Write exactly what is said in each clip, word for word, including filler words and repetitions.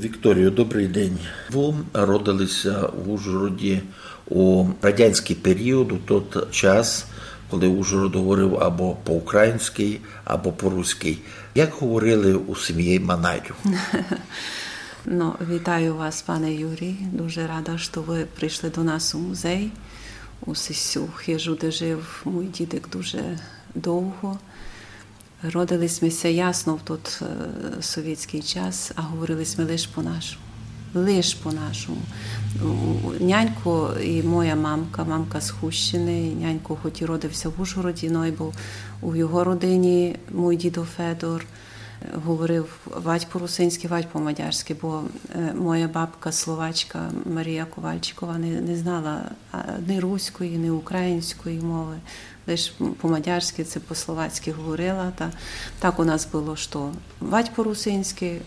Вікторію, добрый день. Вы родили ся в Ужгороді у радянськый період, у тот час, коли Ужгород говорив або по-українськи, або по-руськи. Як говорили у сім'ї Манайдів? Ну, вітаю вас, пане Юрій. Дуже рада, што вы прийшли до нас у музей, у сесю хижу, де жив мій дідик дуже довго. Родили сьме ся ясно в тот е, совєтськый час, а говорили сьме лиш по-нашому. Лиш по-нашому. У- у- Нянько і моя мамка, мамка з Хущини, і нянько, хоч і родив ся в Ужгороді, но й быв у його родині, мій дідо Федор, е, говорив вадь по-русинськи, вадь по-мадярськи, бо е, моя бабка словачка Марія Ковальчикова не, не знала а, ні руської, ні української мови. Лиш по-мадярськи ци по-словацьки говорила. Та так у нас было, што вадь по-русинськи,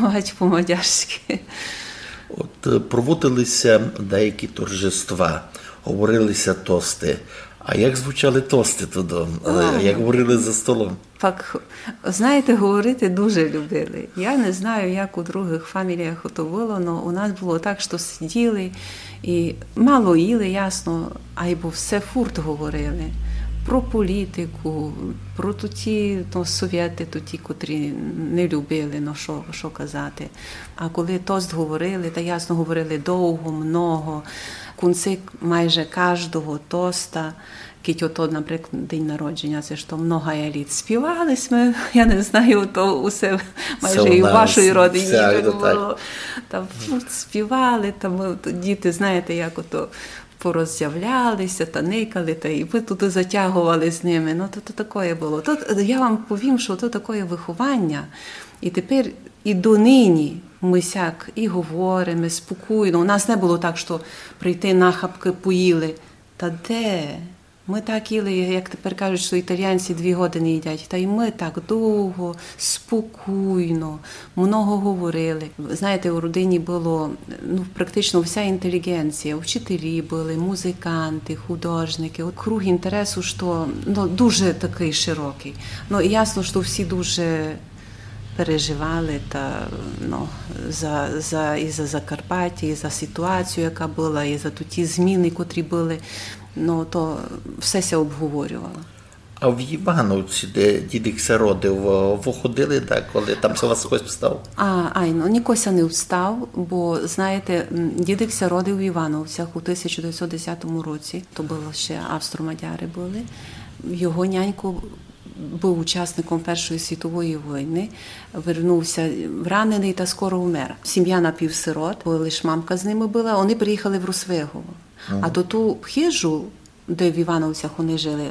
вадь по-мадярськи. От е, проводили ся деякі торжества, говорили ся тости. А як звучали тости туды? Е, А. Як говорили за столом? Пак, знаєте, говорити дуже любили. Я не знаю, як у другых фаміліях ото было, но у нас было так, што сиділи і мало їли, ясно, айбо все фурт говорили. Про політику, про туті, ну, совєты, туті, котрі не любили, ну, што, што казати. А коли тост говорили, та ясно говорили довго, много. В кінці майже каждого тоста, кідь ото, наприклад, день народження, се што многая літ, співали сьме, я не знаю, то усе майже Се у і у нас, вашій родині всяк так то так. Было. Там фурт співали, там е, то діти, знаєте, як ото пороззявляли ся, та никали, та і мы туды затягували з ними. Ну, то, то такоє было. То, я вам повім, што то такоє выхованя. І тепер і донині мы сяк і говориме спокійно. У нас не было так, што прийти нахапкы поїли. Та де? Мы так їли, як тепер кажуть, што італіянці дві годины їдять. Та й мы так довго, спокійно, много говорили. Знаєте, у родині было, ну, практично вся інтеліґенція, вчителі были, музиканты, художникы. От круг інтересу, што, ну, дуже такый широкый. Ну, і ясно, што всі дуже переживали та, ну, за, за, і за Закарпаття, і за ситуацію, яка была, і за туті зміны, котрі были. Ну, то все ся обговорювало. А в Івановці, де дідик ся родив, е, вы ходили, да, коли там ся вас хтось встав? А, айно, нико ся не встав, бо, знаєте, м, дідик ся родив в Івановцях у тисяча девятсот десятому році. То было ще австро-мадяры были. Його нянько быв учасником Першої світової войны, вернув ся раненый та скоро умер. Сім'я напівсирот, бо лиш мамка з ними была, они приїхали в Росвигово. А то ту хижу, де в Івановцях они жили,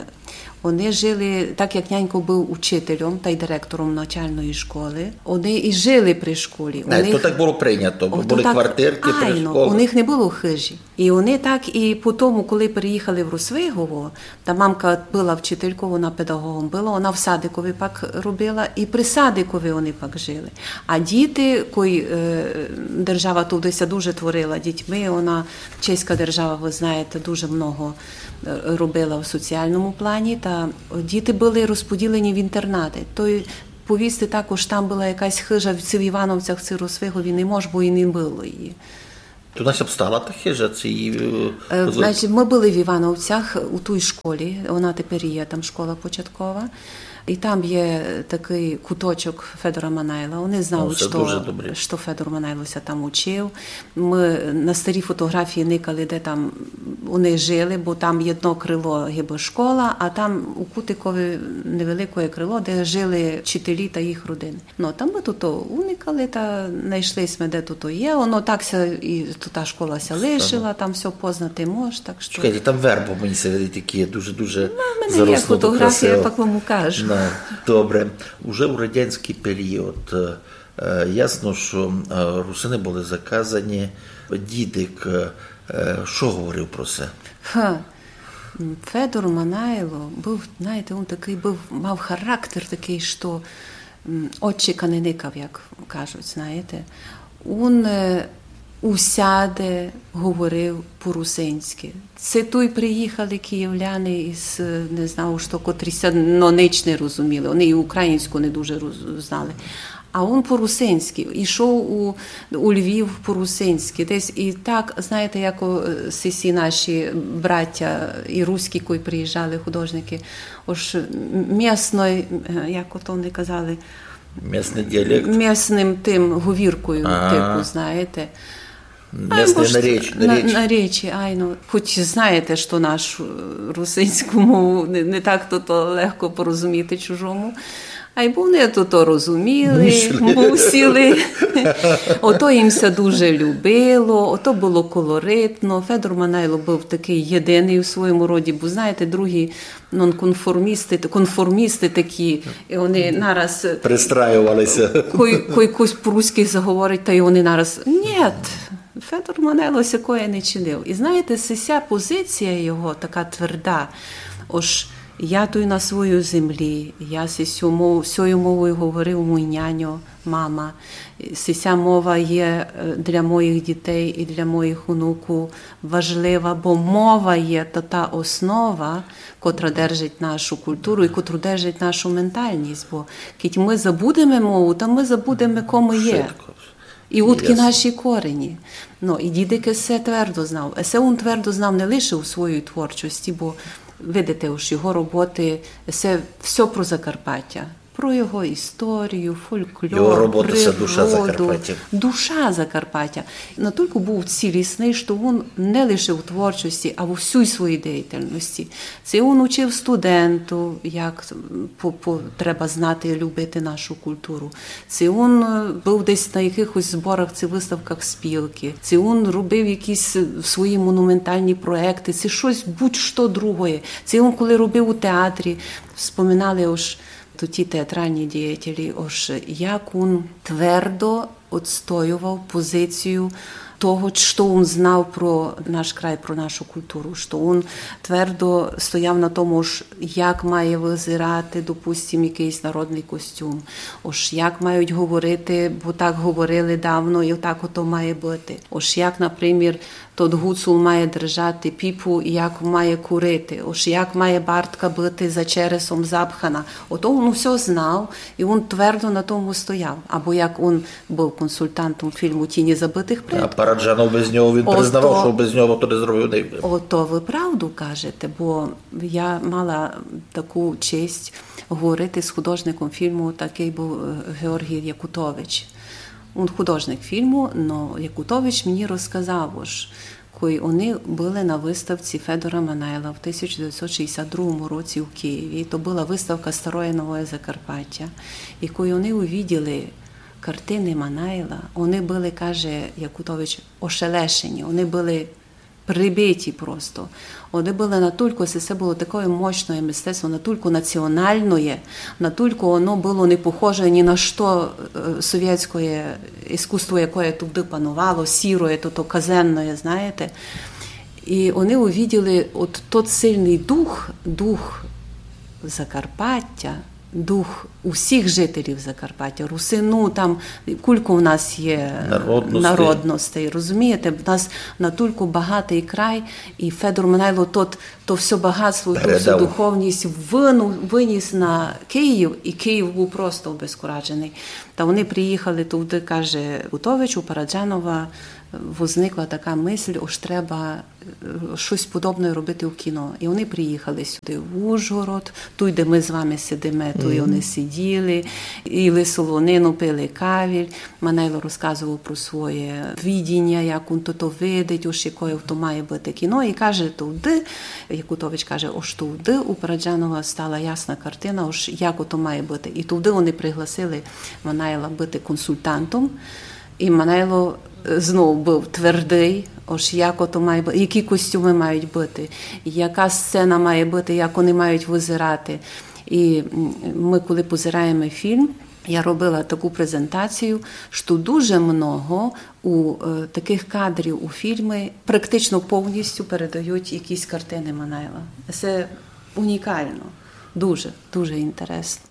они жили, так як нянько быв учителем та й директором начальної школы, они і жили при школі. У Е, них То так было прийнято, бо Ото были так, квартиркы при айно, школі. У них не было хижі. І они так і по тому, коли приїхали в Росвигово, та мамка была вчительков, она педагогом была, она в садикови пак робила, і при садикови они пак жили. А діти, кой е, держава туды ся дуже творила дітьми, она, чеська держава, вы знаєте, дуже много е, робила в соціалному плані, та діти были розподілені в інтернаты. То й повісти також, там была якась хижа в ци в Івановцях, ци в Росвигові не мож, бо і не было її. То у нас обстала та хижа, ци її... Е, Значить, мы были в Івановцях у тій школі, она тепер є, там школа початкова. І там є такый куточок Федора Манайла. Они знають, О, се што, дуже добре. што Федор Манайло ся там учив. Мы на старі фотографії никали, де там они жили, бо там єдно крило гибы школа, а там у кутикови невеликоє крило, де жили вчителі та їх родины. Ну, там мы туто уникали, та найшли сьме, де туто є. Оно так ся і та школа ся лишила, там всьо познати мож, так што... Чекайте, там вербы, мені ся видить, такі дуже-дуже У мене є заросло, фотографія, красиво. Я пак вам укажу. Ну, добре. Уже у радянськый період, е, ясно, што е, русины были заказані. Дідик, е, е, што говорив про се? Ха. М, Федор Манайло быв, знаєте, він такый быв, мав характер такый, што м, очі ка не никав, як кажуть, знаєте. Він е, усяде говорив по-русинськи. Ци туй приїхали київляни із, е, не знаю, што, котрі ся, но, нич не розуміли. Они і українську не дуже роз-, знали. А он по-русинськы, ішов у, у Львів по-русинськы. Десь і так, знаєте, як о, е, сі, сі наші браття і руські, коли приїжджали художникы, ож м-, місной, е, як ото вони казали, Місный діалект. Місным тым говіркою, Ага. типу, знаєте. Місный Ай, наріч, на, наріч. Наречі, айно. Хоч знаєте, што нашу, е, русинську мову не, не так то, то легко порозуміти чужому. Айбо вони то, то розуміли, Мусили. Мусили. Ото їм ся дуже любило, ото было колоритно. Федор Манайло быв такый єдиный у своєму роді, бо, знаєте, другі нонконформісты, конформісты такі, і вони нараз Пристраювали ся. кой, кой кось по-руськы заговорить, та й вони нараз: «Нєт, Федор Манайло сякоє не чинив». І знаєте, се ся позиція його така тверда, ож я туй на своїй землі, я се сю мов-, сьою мовою говорив мій няньо, мама. Се ся мова є, е, для моїх дітей і для моїх онукув важлива, бо мова є та, та основа, котра держить нашу културу і котра держить нашу менталность. Бо кідь мы забудеме мову, та мы забудеме, ко мы є. Швидко. І удкі Ясно. Наші корені. Ну, і дідик се твердо знав. Се он твердо знав не лише у своїй творчості, бо, видите, уж його роботы, се всьо про Закарпаття. Про його історію, фольклор, Його роботы — се душа природу, Закарпаття. Душа Закарпаття. Натілько быв цілісный, што он не лише у творчості, а у всій своїй діяльности. Се он учив студентув, як по, по, треба знати, любити нашу културу. Се он, е, быв десь на якыхось зборах ци выставках спілкы. Се он робив якісь, е, свої монументалні проєкты, се штось будь-што другоє. Се он, коли робив у театрі, вспоминали ож тоті театралні діятелі, ож як он твердо отстоював позицію того, што он знав про наш край, про нашу културу, што он твердо стояв на тому, ож як має визирати, допустим, якыйсь народный костюм, ож як мають говорити, бо так говорили давно і так ото має быти. Ож як, напримір, тот гуцул має держати піпу і як має курити, ож як має бартка быти за чересом запхана. Ото он усьо знав, і он твердо на тому стояв. Або як он быв консультантом фільму «Тіні забытых А предків». Параджанов без нього, він Ото- признавав, што без нього то не зробив не. Ото вы правду кажете, бо я мала таку честь говорити з художником фільму, такый быв, е, Георгій Якутович. Он художник фільму, но Якутович мені розказав, ож кой они были на выставці Федора Манайла в тисяча девятьсот шістдесят другому році у Києві, то была выставка «Староє новоє Закарпаття», і кой они увиділи картины Манайла, они были, каже Якутович, ошелешені, они были прибиті просто. Они были натулько, се, се было такоє мощноє мистецтво, натулько націоналноє, натулько оно было не похоже ні на што, е, совєтськоє іскусство, якоє туды пановало, сіроє, то, то казенноє, знаєте. І они увиділи от тот сильный дух, дух Закарпаття, дух усіх жителів Закарпаття, русину, там кулько в нас є Народностей. Народностей, розумієте? В нас натулько багатый край, і Федор Манайло тот, то всьо багатство, ту всю Передав. Духовность выну-, выніс на Київ, і Київ быв просто обезкураженый. Та они приїхали туды, каже Якутович, у Параджанова возникла така мысль, ож треба е, штось подобноє робити у кіно. І они приїхали сюды, в Ужгород, туй, де мы з вами сидиме, туй они сиділи, їли солонину, пили кавіль. Манайло розказовав про своє видіня, як он то, то видить, ож якоє то має быти кіно. І каже, туды, Якутович каже, ож туды у Параджанова стала ясна картина, ож як ото має быти. І туды они пригласили Манайла быти консультантом. І Манайло, е, знов быв твердый, ож як ото має бу-, які костюмы мають быти, яка сцена має быти, як они мають визирати. І, м, мы, коли позираєме фільм, я робила таку презентацію, што дуже много у, е, такых кадрів у фільмі практично повністю передають якісь картины Манайла. Се унікално. Дуже, дуже інтересно.